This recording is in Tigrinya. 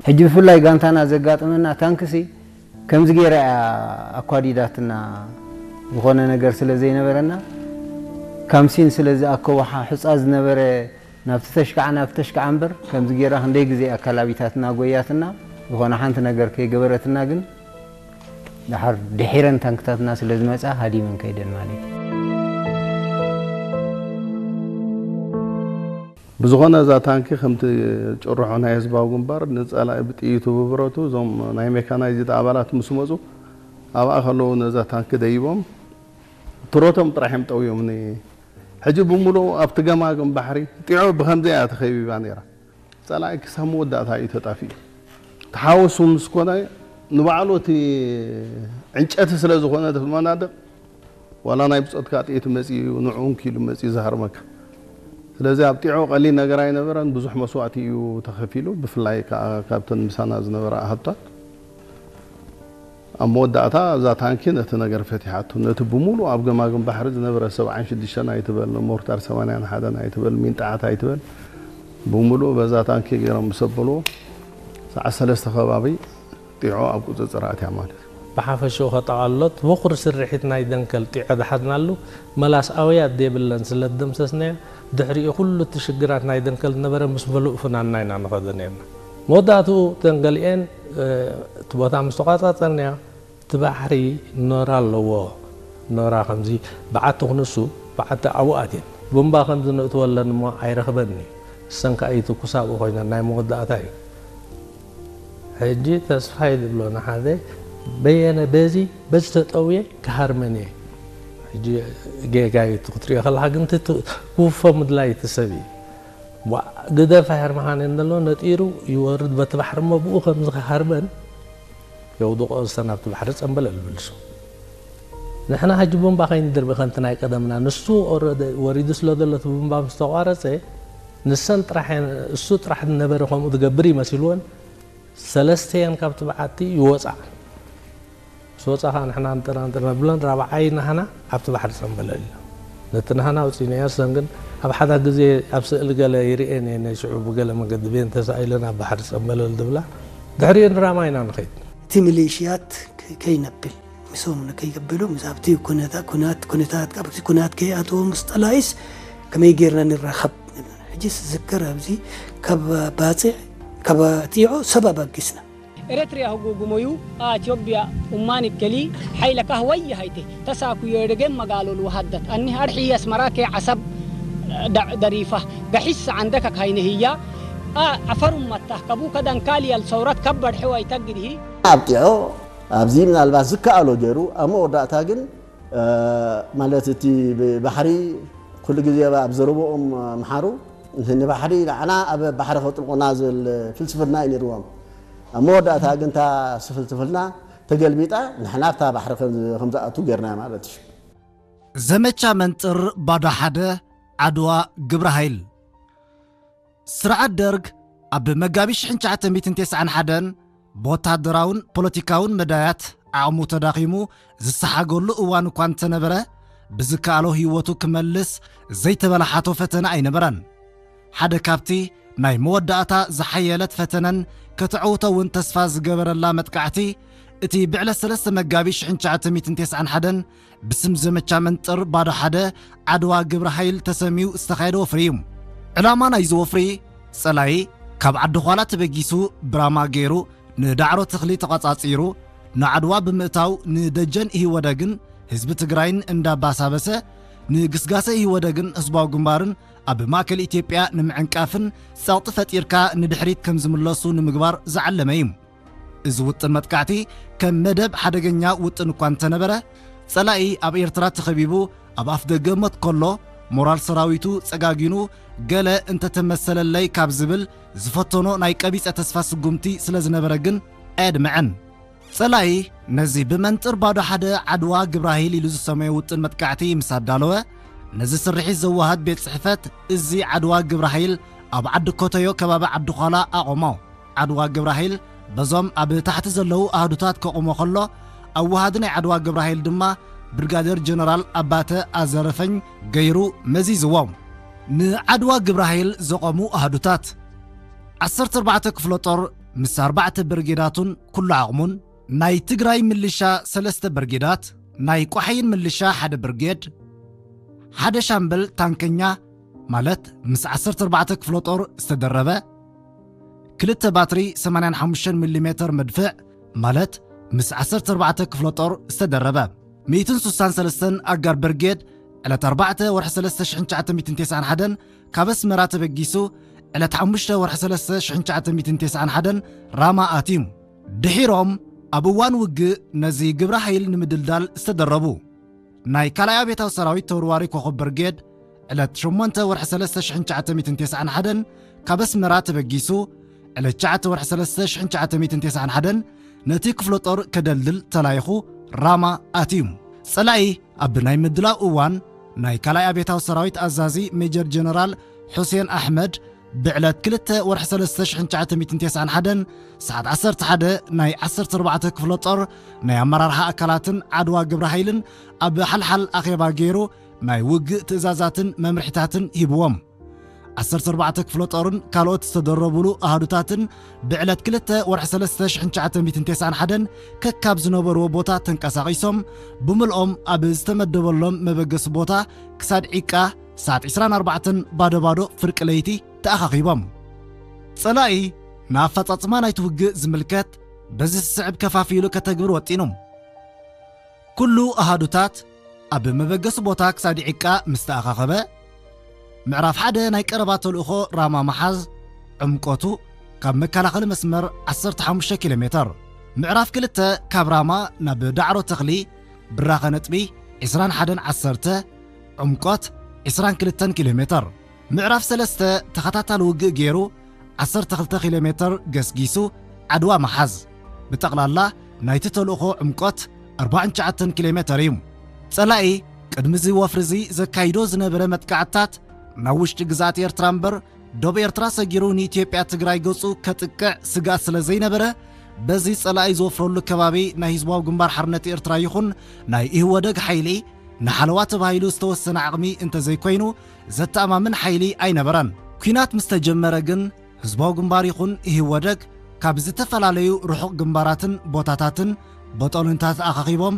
ሕጂ ብፍላይ ጋንታና ዘጋጠመና ታንክሲ ከምዚ ገይራ እያ ኣኳዲዳትና። ዝኾነ ነገር ስለ ዘይነበረና፣ ካምሲን ስለ ዝኣከቦ ሓ-፣ ሑጻ ዝነበረ፣ ናብቲ ተሽካዓ ናብቲ ተሽካዓ እምበር፣ ከምዚ ገይራ ክንደይ ግዜ ኣካላቢታትና ጎያትና፣ ዝኾነ ሓንቲ ነገር ከይገበረትና። ግን ደሓር ድሒረን ታንክታትና ስለ ዝመጻ ሃዲመን ከይደን ማለት እዩ። ብዝኾነ እዛ ታንኪ ከምቲ ጭርሖ ናይ ህዝባዊ ግንባር ንጸላኢ ብጥይቱ ብብረቱ እዞም ናይ ሜካናይዝድ ኣባላት ምስ መጹ ኣብኣ ከለዉ ነዛ ታንኪ ደይቦም ትሮቶም ጥራሕ እዮም ጠውዮም። ሕጂ ብምሉኡ ኣብቲ ገማግም ባሕሪ ጢዖ ብኸምዚ እያ ተኸቢባ ነይራ። ጸላኢ ክሳብ መወዳእታ እዩ ተጣፊኡ። ተሓወሱ ምስ ኮነ ንባዕሉ እቲ ዕንጨቲ ስለ ዝኾነ እቲ መናድቕ ዋላ ናይ ብጾትካ ጥይት መጺኡ ንዕኡ እንኪሉ መጺኡ ዝሃርመካ። ስለዚ ኣብ ጢዖ ቀሊል ነገር ኣይነበረን፣ ብዙሕ መስዋእቲ እዩ ተኸፊሉ። ብፍላይ ከኣ ካብተን ምሳና ዝነበራ ኣሃዱታት ኣብ መወዳእታ እዛ ታንኪ ነቲ ነገር ፈቲሓቶ። ነቲ ብምሉእ ኣብ ገማግም ባሕሪ ዝነበረ ሰብዓን ሽዱሽተን ኣይትበል፣ ሞርታር ሰማንያን ሓደን ኣይትበል፣ ሚንጣዓት ኣይትበል፣ ብምሉእ በዛ ታንኪ ገይሮም ምስ ኣበልዎ ሰዓት ሰለስተ ከባቢ ጢዖ ኣብ ቁጽጽር ኣትያ ማለት እዩ። ብሓፈሽኡ ከጠቓልሎት፣ በኹሪ ስርሒት ናይ ደንከል ጢዖ ዝሓዝናሉ መላስ ኣውያት ዘይብለን ስለ ዝደምሰስናዮ፣ ድሕሪኡ ኩሉ እቲ ሽግራት ናይ ደንከል ዝነበረ ምስ ምሉእ ፍናንና ኢና ንኸዶ ነይርና። መወዳእትኡ እተን ገሊኤን፣ እ፣ እቲ ቦታ ምስ ተቋጻጸርናዮ፣ እቲ ባሕሪ ኖራ ኣለዎ። ኖራ ከምዚ በዓቲ ክንሱ፣ በዓቲ ኣብኡ ኣትየን። ቡምባ ከምዚ ነእትወለን እሞ ኣይረኽበን እዩ። እሰን ከኣ ይትኩሳ ኣብኡ ኮይነን፣ ናይ መወዳእታ እዩ። ሕጂ ተስፋይ ዝብሎ ንሓደ በየነ በዚ፣ በዚ ተጠውየ ክሃርመን እየ። ሕጂ ጌጋ እዩ እቲ ክትሪኦ ከለኻ፣ ግን እቲ ት-፣ ክውፎ ምድላይ እቲ ሰብ እዩ። ዋ፣ ግደፍ ኣይሃርመኻን እየን ዘሎ፣ ነጢሩ ይወርድ በቲ ባሕሪ እሞ ብኡ ከምዚ ክሃርመን የውድቆ ዝሰን ኣብቲ ባሕሪ ጸምበለል ይብልሱ። ንሕና ሕጂ ቡምባ ከይንድርቢ ከምቲ ናይ ቀደምና፣ ንሱ ኦረደ ወሪዱ ስለ ዘሎ እቲ ቡምባ ምስ ተቋረጸ፣ ንሰን ጥራሕ እየን፣ እሱ ጥራሕ ዝነበረ ከምኡ ዝገብር ይመሲልወን፣ ሰለስተየን ካብቲ በዓቲ ይወጻ። ምስ ወጻ ኸኣ ንሕና እንጥራንጥር ነብለን፣ ራብዓይ ናህና ኣብቲ ባሕሪ ጸምበለል ኢለን። ነቲ ናህና ኣውጺእናዮ፣ እሰን ግን ኣብ ሓደ ግዜ ኣብ ስእሊ ገለ ይርእየን እየ፣ ናይ ሽዑ ብገለ መገዲ ቤን ተሳኢለን ኣብ ባሕሪ ጸምበለል ዝብላ። ድሕሪኡ ንራማ ኢና ንኸይድ። እቲ ሚሊሽያት ከ-፣ ከይነብል፣ ምስኦም ንከይገበሉ፣ ምስ ኣብቲ ኩነታ-፣ ኩናት፣ ኩነታት፣ ኣብቲ ኩናት ከይኣትዎ ምስ ጠላኢስ ከመይ ጌርና ንራኸብ? ሕጂስ ዝዝከር ኣብዚ ካብ ባጽዕ፣ ካብ ጢዖ ሰብ ኣባጊስና። ኤረትርያ ህጉጉሞዩ፣ ኣትዮጵያ ኡማን እከሊ፣ ሓይለ ካህወይ ሃይቴ፣ ተሳኩዮ ደገም መጋሎሉ ሃደት፣ ኣኒ ሃርሒ ኣስመራ ከ ዓሰብ ደ-፣ ደሪፋ፣ ገሒስ ዓንደከ ካይነ ህያ፣ ኣ፣ ዓፈር ኡመታ፣ ከቡ ከደንካልያል ሰውረት ከበድ ሕዋይ ተግድሂ። ኣብ ጢዖ፣ ኣብዚ ምናልባት ዝከኣሎ ገይሩ፣ ኣብ መወዳእታ ግን፣ እ፣ ማለት እቲ ብባሕሪ ኩሉ ግዜ ኣብ ዘረብኦም ምሓሩ፣ ንባሕሪ ንዓና ኣብ ባሕሪ ከጥልቁና ዝብል ፍልስፍና እዩ ነይርዎም። ኣብ መወዳእታ ግን እታ ፍልስፍና ተገልቢጣ፣ ንሕና ኣብታ ባሕሪ ከም ከም ዝኣቱ ጌርና ማለት እዩ። ዘመቻ መንጥር ባዶ ሓደ፣ ዓድዋ ግብረ ሃይል። ስርዓት ደርግ ኣብ መጋቢት ሽሕን ትሽዓተ ሚእትን ተስዓን ሓደን ብወታደራውን ፖለቲካውን መዳያት ዓቕሙ ተዳኺሙ ዝሰሓገሉ እዋን እኳ እንተነበረ፣ ብዝከኣሎ ህይወቱ ክመልስ ዘይተበላሓቶ ፈተነ ኣይነበረን። ሓደ ካብቲ ናይ መወዳእታ ዝሓየለት ፈተነን ከተዕውቶ እውን ተስፋ ዝገበረላ መጥቃዕቲ፣ እቲ ብዕለት ሰለስተ መጋቢት ሽሕን ትሽዓተ ሚእትን ተስዓን ሓደን ብስም ዘመቻ መንጥር ባዶ ሓደ ዓድዋ ግብረ ሃይል ተሰምዩ ዝተኻየደ ወፍሪ እዩ። ዕላማ ናይዚ ወፍሪ፣ ጸላኢ ካብ ዓዲ ዃላ ተበጊሱ ብራማ ገይሩ ንዳዕሮ ተኽሊ ተቋጻጺሩ ንዓድዋ ብምእታው ንደጀን ኢህወደግን ህዝቢ ትግራይን እንዳባሳበሰ ንግስጋሰ ኢህወደግን ህዝባዊ ግንባርን ኣብ ማእከል ኢትዮጵያ ንምዕንቃፍን ጸቕጢ ፈጢርካ ንድሕሪት ከም ዝምለሱ ንምግባር ዝዓለመ እዩ። እዚ ውጥን መጥቃዕቲ ከም መደብ ሓደገኛ ውጥን እኳ እንተነበረ፣ ጸላኢ ኣብ ኤርትራ ተኸቢቡ ኣብ ኣፍደገ ሞት ከሎ ሞራል ሰራዊቱ ጸጋጊኑ ገለ እንተተመሰለለይ ካብ ዝብል ዝፈተኖ ናይ ቀቢጸ ተስፋ ስጉምቲ ስለ ዝነበረ ግን ኣየድመዐን። ጸላኢ ነዚ ብመንጥር ባዶ ሓደ ዓድዋ ግብረ ሃይል ኢሉ ዝሰመዮ ውጥን መጥቃዕቲ ምስ ኣዳለወ፣ ነዚ ስርሒት ዘወሃድ ቤት ጽሕፈት እዚ ዓድዋ ግብረ ሃይል ኣብ ዓዲ ኮተዮ ከባቢ ዓዲ ዃላ ኣቖሞ። ዓድዋ ግብረ ሃይል በዞም ኣብ ታሕቲ ዘለዉ ኣሃዱታት ከቑሞ ከሎ፣ ኣወሃዲ ናይ ዓድዋ ግብረ ሃይል ድማ ብርጋዴር ጀነራል ኣባተ ኣዘረፈኝ ገይሩ መዚዝዎም። ንዓድዋ ግብረ ሃይል ዘቖሙ ኣሃዱታት። ዓሰርተ ኣርባዕተ ክፍለ ጦር ምስ ኣርባዕተ ብርጌዳቱን ኩሉ ዓቕሙን፣ ናይ ትግራይ ምልሻ ሰለስተ ብርጌዳት፣ ናይ ቋሕይን ምልሻ ሓደ ብርጌድ፣ ሓደ ሻምበል ታንከኛ፣ ማለት ምስ ዓሰርተ ኣርባዕተ ክፍለ ጦር ዝተደረበ፣ ክልተ ባትሪ ሰማንያን ሓሙሽተን ሚሊ ሜተር መድፍዕ፣ ማለት ምስ ዓሰርተ ኣርባዕተ ክፍለ ጦር ዝተደረበ፣ ሚእትን ስሳን ሰለስተን ኣጋር ብርጌድ፣ ዕለት ኣርባዕተ ወርሒ ሰለስተ ሽሕን ትሽዓተ ሚእትን ተስዓን ሓደን ካብ ኣስመራ ተበጊሱ፣ ዕለት ሓሙሽተ ወርሒ ሰለስተ ሽሕን ትሽዓተ ሚእትን ተስዓን ሓደን ራማ ኣትዩ። ድሒሮም ኣብ እዋን ውግእ ነዚ ግብረ ሓይል ንምድልዳል ዝተደረቡ፣ ናይ ካልኣይ ኣብዮታዊ ሰራዊት ተወርዋሪ ኮኸብ ብርጌድ፣ ዕለት ሸሞንተ ወርሒ ሰለስተ ሽሕን ትሽዓተ ሚእትን ተስዓን ሓደን ካብ ኣስመራ ተበጊሱ፣ ዕለት ትሽዓተ ወርሒ ሰለስተ ሽሕን ትሽዓተ ሚእትን ተስዓን ሓደን ነቲ ክፍለ ጦር ከደልድል ተላኢኹ ራማ ኣትዩ። ጸላኢ ኣብ ናይ ምድላው እዋን ናይ ካልኣይ ኣብዮታዊ ሰራዊት ኣዛዚ ሜጀር ጀነራል ሑሴን ኣሕመድ ብዕለት ክልተ ወርሒ ሰለስተ ሽሕን ትሽዓተ ሚእትን ተስዓን ሓደን ሰዓት ዓሰርተ ሓደ ናይ ዓሰርተ ኣርባዕተ ክፍለ ጦር ናይ ኣመራርሓ ኣካላትን ዓድዋ ግብረ ሓይልን ኣብ ሓልሓል ኣኼባ ገይሩ ናይ ውግእ ትእዛዛትን መምርሒታትን ሂብዎም። ዓሰርተ ኣርባዕተ ክፍለ ጦርን ካልኦት ዝተደረቡሉ ኣሃዱታትን ብዕለት ክልተ ወርሒ ሰለስተ ሽሕን ትሽዓተ ሚእትን ተስዓን ሓደን ከካብ ዝነበርዎ ቦታ ተንቀሳቒሶም ብምልኦም ኣብ ዝተመደበሎም መበገሲ ቦታ ክሳድ ዒቃ ሰዓት ዕስራን ኣርባዕተን ባዶ ባዶ ፍርቂ ለይቲ ተኣኻኺቦም። ጸላኢ ንኣፈጻጽማ ናይቲ ውግእ ዝምልከት በዚ ዝስዕብ ከፋፊሉ ከተግብር ወጢኑ። ኩሉ ኣሃዱታት ኣብ መበገሲ ቦታ ክሳድ ዒቃ ምስ ተኣኻኸበ፣ ምዕራፍ ሓደ ናይ ቀረባ ተልእኾ ራማ ምሓዝ፣ ዕምቆቱ ካብ መከላኸሊ መስመር ዓሰርተ ሓሙሽተ ኪሎ ሜተር፣ ምዕራፍ ክልተ ካብ ራማ ናብ ዳዕሮ ተኽሊ ብራኸ ነጥቢ ዕስራን ሓደን ዓሰርተ፣ ዕምቆት ዕስራን ክልተን ኪሎ ሜተር፣ ምዕራፍ ሰለስተ ተኸታታሊ ውግእ ገይሩ ዓሰርተ ክልተ ኪሎ ሜተር ገስጊሱ ዓድዋ ምሓዝ። ብጠቕላላ ናይቲ ተልእኾ ዕምቆት ኣርባዓን ትሽዓተን ኪሎ ሜተር እዩ። ጸላኢ ቅድሚ እዚ ወፍሪ እዚ ዘካይዶ ዝነበረ መጥቃዕትታት ናብ ውሽጢ ግዝኣት ኤርትራ እምበር ዶብ ኤርትራ ሰጊሩ ንኢትዮጵያ ትግራይ ገጹ ከጥቅዕ ስግኣት ስለ ዘይነበረ፣ በዚ ጸላኢ ዝወፍረሉ ከባቢ ናይ ህዝባዊ ግንባር ሓርነት ኤርትራ ይኹን ናይ ኢህወደግ ሓይሊ ንሓለዋ ተባሂሉ ዝተወሰነ ዓቕሚ እንተዘይኮይኑ ዘተኣማምን ሓይሊ ኣይነበረን። ኲናት ምስ ተጀመረ ግን ህዝባዊ ግንባር ይኹን ኢህወደግ ካብ ዝተፈላለዩ ርሑቕ ግንባራትን ቦታታትን በጦልንታት ኣኻኺቦም